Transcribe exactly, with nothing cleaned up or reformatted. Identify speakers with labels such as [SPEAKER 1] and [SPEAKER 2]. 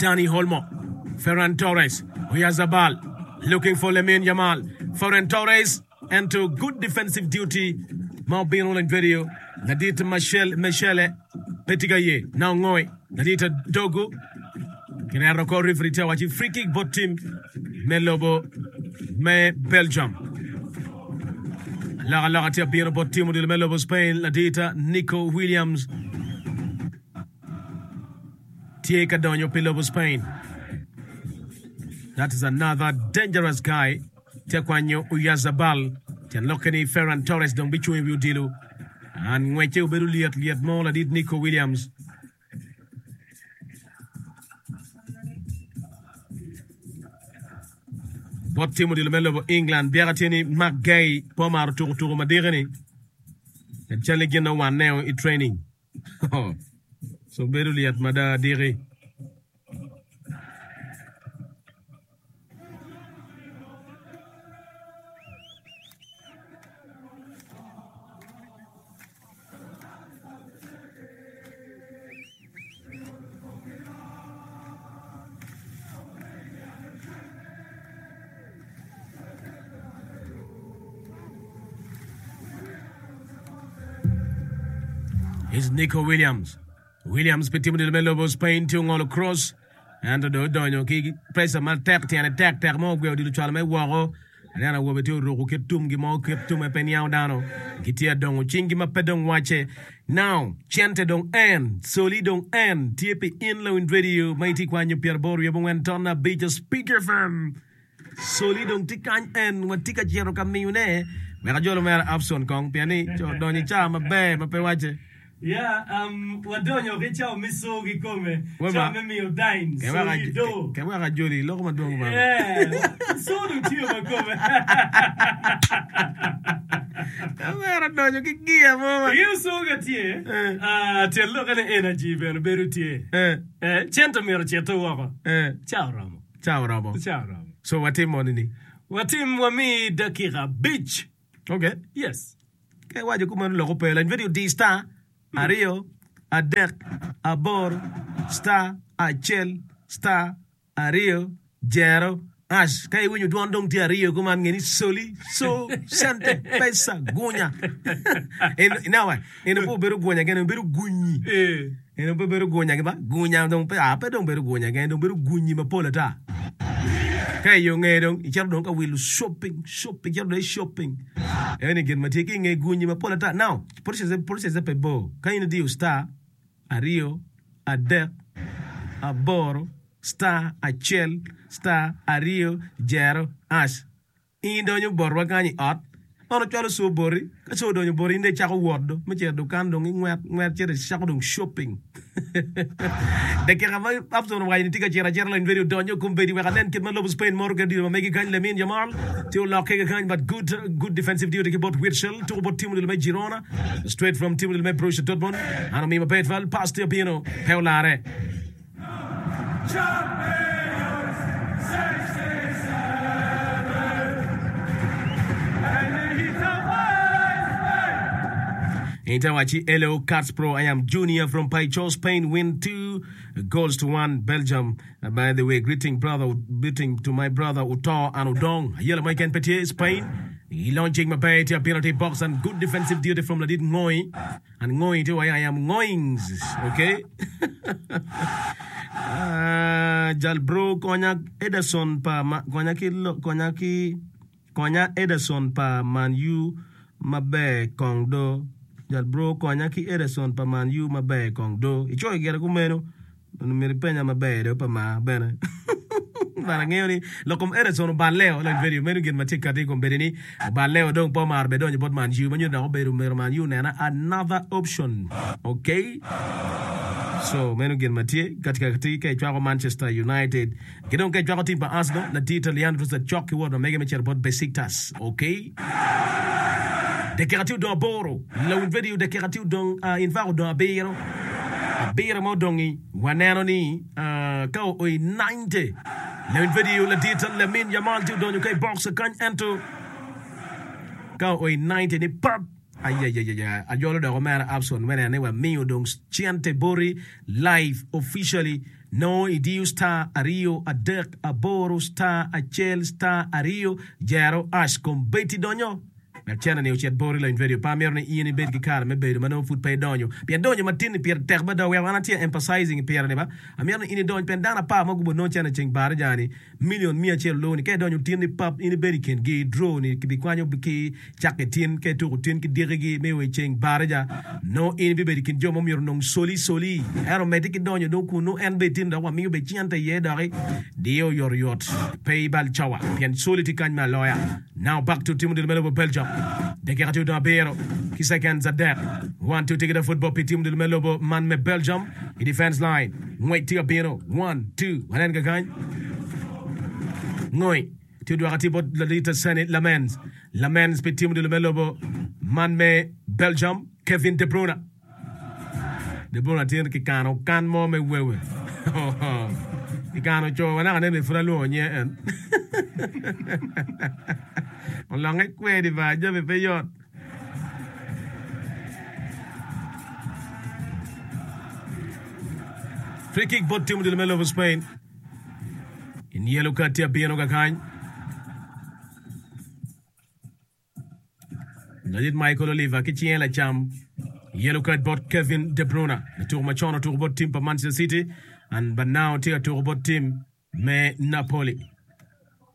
[SPEAKER 1] Dani Olmo, Ferran Torres, Oyarzabal looking for Lamine Yamal, Ferran Torres ento good defensive duty ma obino lony video ladit Michel Michele pe tye ka ye na ongoy ladit Dogu kireto ko referee tye waci free kick bot team me lobo me Belgium. Alokaloka tye abino bot team odilo me lobo Spain ladit Nico Williams tye ka donyo pi lobo Spain. That is another dangerous guy. Tye kwanyo Oyarzabal. Tyen lokke ni Ferran Torres dong bicung i wi odilo. An ngwecce obedo lyet lyet mo ladit Nico Williams. Bot tim odilo me lobo England byeka tye ni Mark Gay pe omaro tuko tuko madiki-ni. Cal ni gin owanne i training. So bedo lyet mada diki. Is Nico Williams. Williams pi timo dilo me lobo Spain tye ongolo cross ento dong odonyo ki pressure matek tyene tek tek mo ogweyo odilo cwalo me woko. Aneno awobe tye oruko kit tumgi mo kit tume pe niango dano gitye adongo cinggi ma pe dong wacce. Now cente dong en soli dong en tye pi in lawiny radio ma itye kwanyo pyeraboro wiye abongwen ton abic Speak F M. Soli dong tye kany en watye ka cito ka miyone wek ajol omera Abson kong pien ni co odonyo i caa maber ma pe wacce.
[SPEAKER 2] Yeah, um, wadonyo ki cawa me so kikome, cawa me miyo dime, soli do.
[SPEAKER 1] Ke wek ajoli loko madwong baba.
[SPEAKER 2] Yeah, so dong tiyo makome.
[SPEAKER 1] Omera odonyo ki gia mo ma.
[SPEAKER 2] Ingeyo so ka tye, ah, tyen lokke ni energy bene bedo tye. Eh, cente myero ocite woko. Cawa oromo.
[SPEAKER 1] Cawa oromo.
[SPEAKER 2] Cawa oromo.
[SPEAKER 1] So watim moni ni.
[SPEAKER 2] Watim wami dakika abic.
[SPEAKER 1] Okay.
[SPEAKER 2] Yes.
[SPEAKER 1] Ka iwaco kumeno lok ope lany video di star aryo adek aboro star acel star aryo jero ash ka iwinyo dwon dong tye aryo kuman nge ni soli so cente pesa gunya en now en pe obedo gunya kene obedo gunyi En pe bedo gunya ki ba gunya dong pe a pe dong bedo gunya keken dong bedo gunyi mapol ata. Ka i yo nge dong icito dong ka wilo shopping shopping icito dong i shopping eni gin ma tye ki nge gunyi mapol ata. Now process process pe bor ka in idiyo star aryo adek aboro star acel star aryo jero hash. In idonyo botwa kany i ot, man ocwalo coo boti, ka coo odonyo boti in dong icako wot do me cito i dukan dong ingwet ngwet cito icako dong shopping. Dakika ma Absalom owaco ni tye ka cito acita lony radio odonyo kombeddi wek anen kit ma lobo Spain moro kwede odilo ma megi kany Lamine Yamal tye olokke kakany but good good defensive duty ki bot Witsel tuko bot team odilo me Girona straight from team odilo me Borussia Dortmund an omiyo maber twal pass tye obino pe olare. Inter wacci Hello Cats Pro I am Junior from Paicho Spain win two goals to one Belgium by the way greeting brother greeting to my brother Uto and Udong ayela mo keken pe tye Spain i launching maber tye abino tye box and good defensive duty from ladit Ngoi An ngoyi tye wai I am ngoyings ok ah, jal bro konya Ederson pa ma, konya ki konya ki konya Ederson pa Man U maber kong do jal bro konya ki Ederson pa Man U maber kong do icoyo gire kumeno Myero ipenya maber do pa mar bene. But angeyo ni lok kom Ericson oballeo like video meno gin ma tye kati i kom bedi ni oballeo dong pe omaro bed donyo bot Man U ma nyuto dok obedo myero Man U onena another option. Okay. So meno gin ma tye kati kati ka icwako Manchester United ki dong ka icwako team pa Arsenal ladit Leandro Trossard cok ki wot ma mege me cito bot Besiktas. Okay. Dakika tye odong aboro. Lawiny radio dakika tye odong uh, in fact odong abiro. Abiro ma odong-ngi waneno ni uh, ka oo i ninety. Lawiny radio ladit Lamin Yamal tye odonyo ka i box kany ento ka oo i ninety ni pap Ayayaya, ajolo dok omera Abson me neno ni wamiyo dong cente boti live officially nongo idiyo star aryo adek aboro star acel star aryo jero ash kombeddi donyo wek cente ni ocit boti lony radio. Pe amito ni in ibed ki kare me bedo ma nongo pud pe idonyo pien donyo matin ni pire tek mada weko an atye emphasizing pire ni ba amito ni in idony pien dano apar ma gubo nongo cente ceng baraja ni million miya acel oloo ni ka idonyo tin ni pap in ibedo i kin gi draw ni kibikwanyo ki cakke tin ka ituko tin ki dikigi me wa i ceng baraja nongo in ibibedo i kin jo ma myero onong soli soli ento medde ki donyo dong kun nongo en bene tin dok wamiyo bene cente iye doki diyo oyotoyot pe ibal cawa pien soli tye kany me aloya. Now back to team odilo me lobo Belgium. Dakika tye odong abiro ki seconds adek. One two take the football pi team odilo me lobo man me Belgium i defense line. Ngwec tye ka bino. One two wanen kakany. Ngoi tye odwoko atir bot ladit Seni Lamens. Lamens pi team odilo me lobo man me Belgium Kevin De Bruyne. De Bruyne tye ki kano kan mo me wewe. Kikano co wa naka nene pud alwongo nyinge en. Olonge kwedi ba jami pe yot. Free kick bot team odilo me lobo Spain. In yellow card tye abino kakany. Ladit Michael Oliver ki cinge lacam yellow card bot Kevin De Bruyne latuko macon otuko bot tim pa Manchester City and but now tye ka tuko bot tim me Napoli.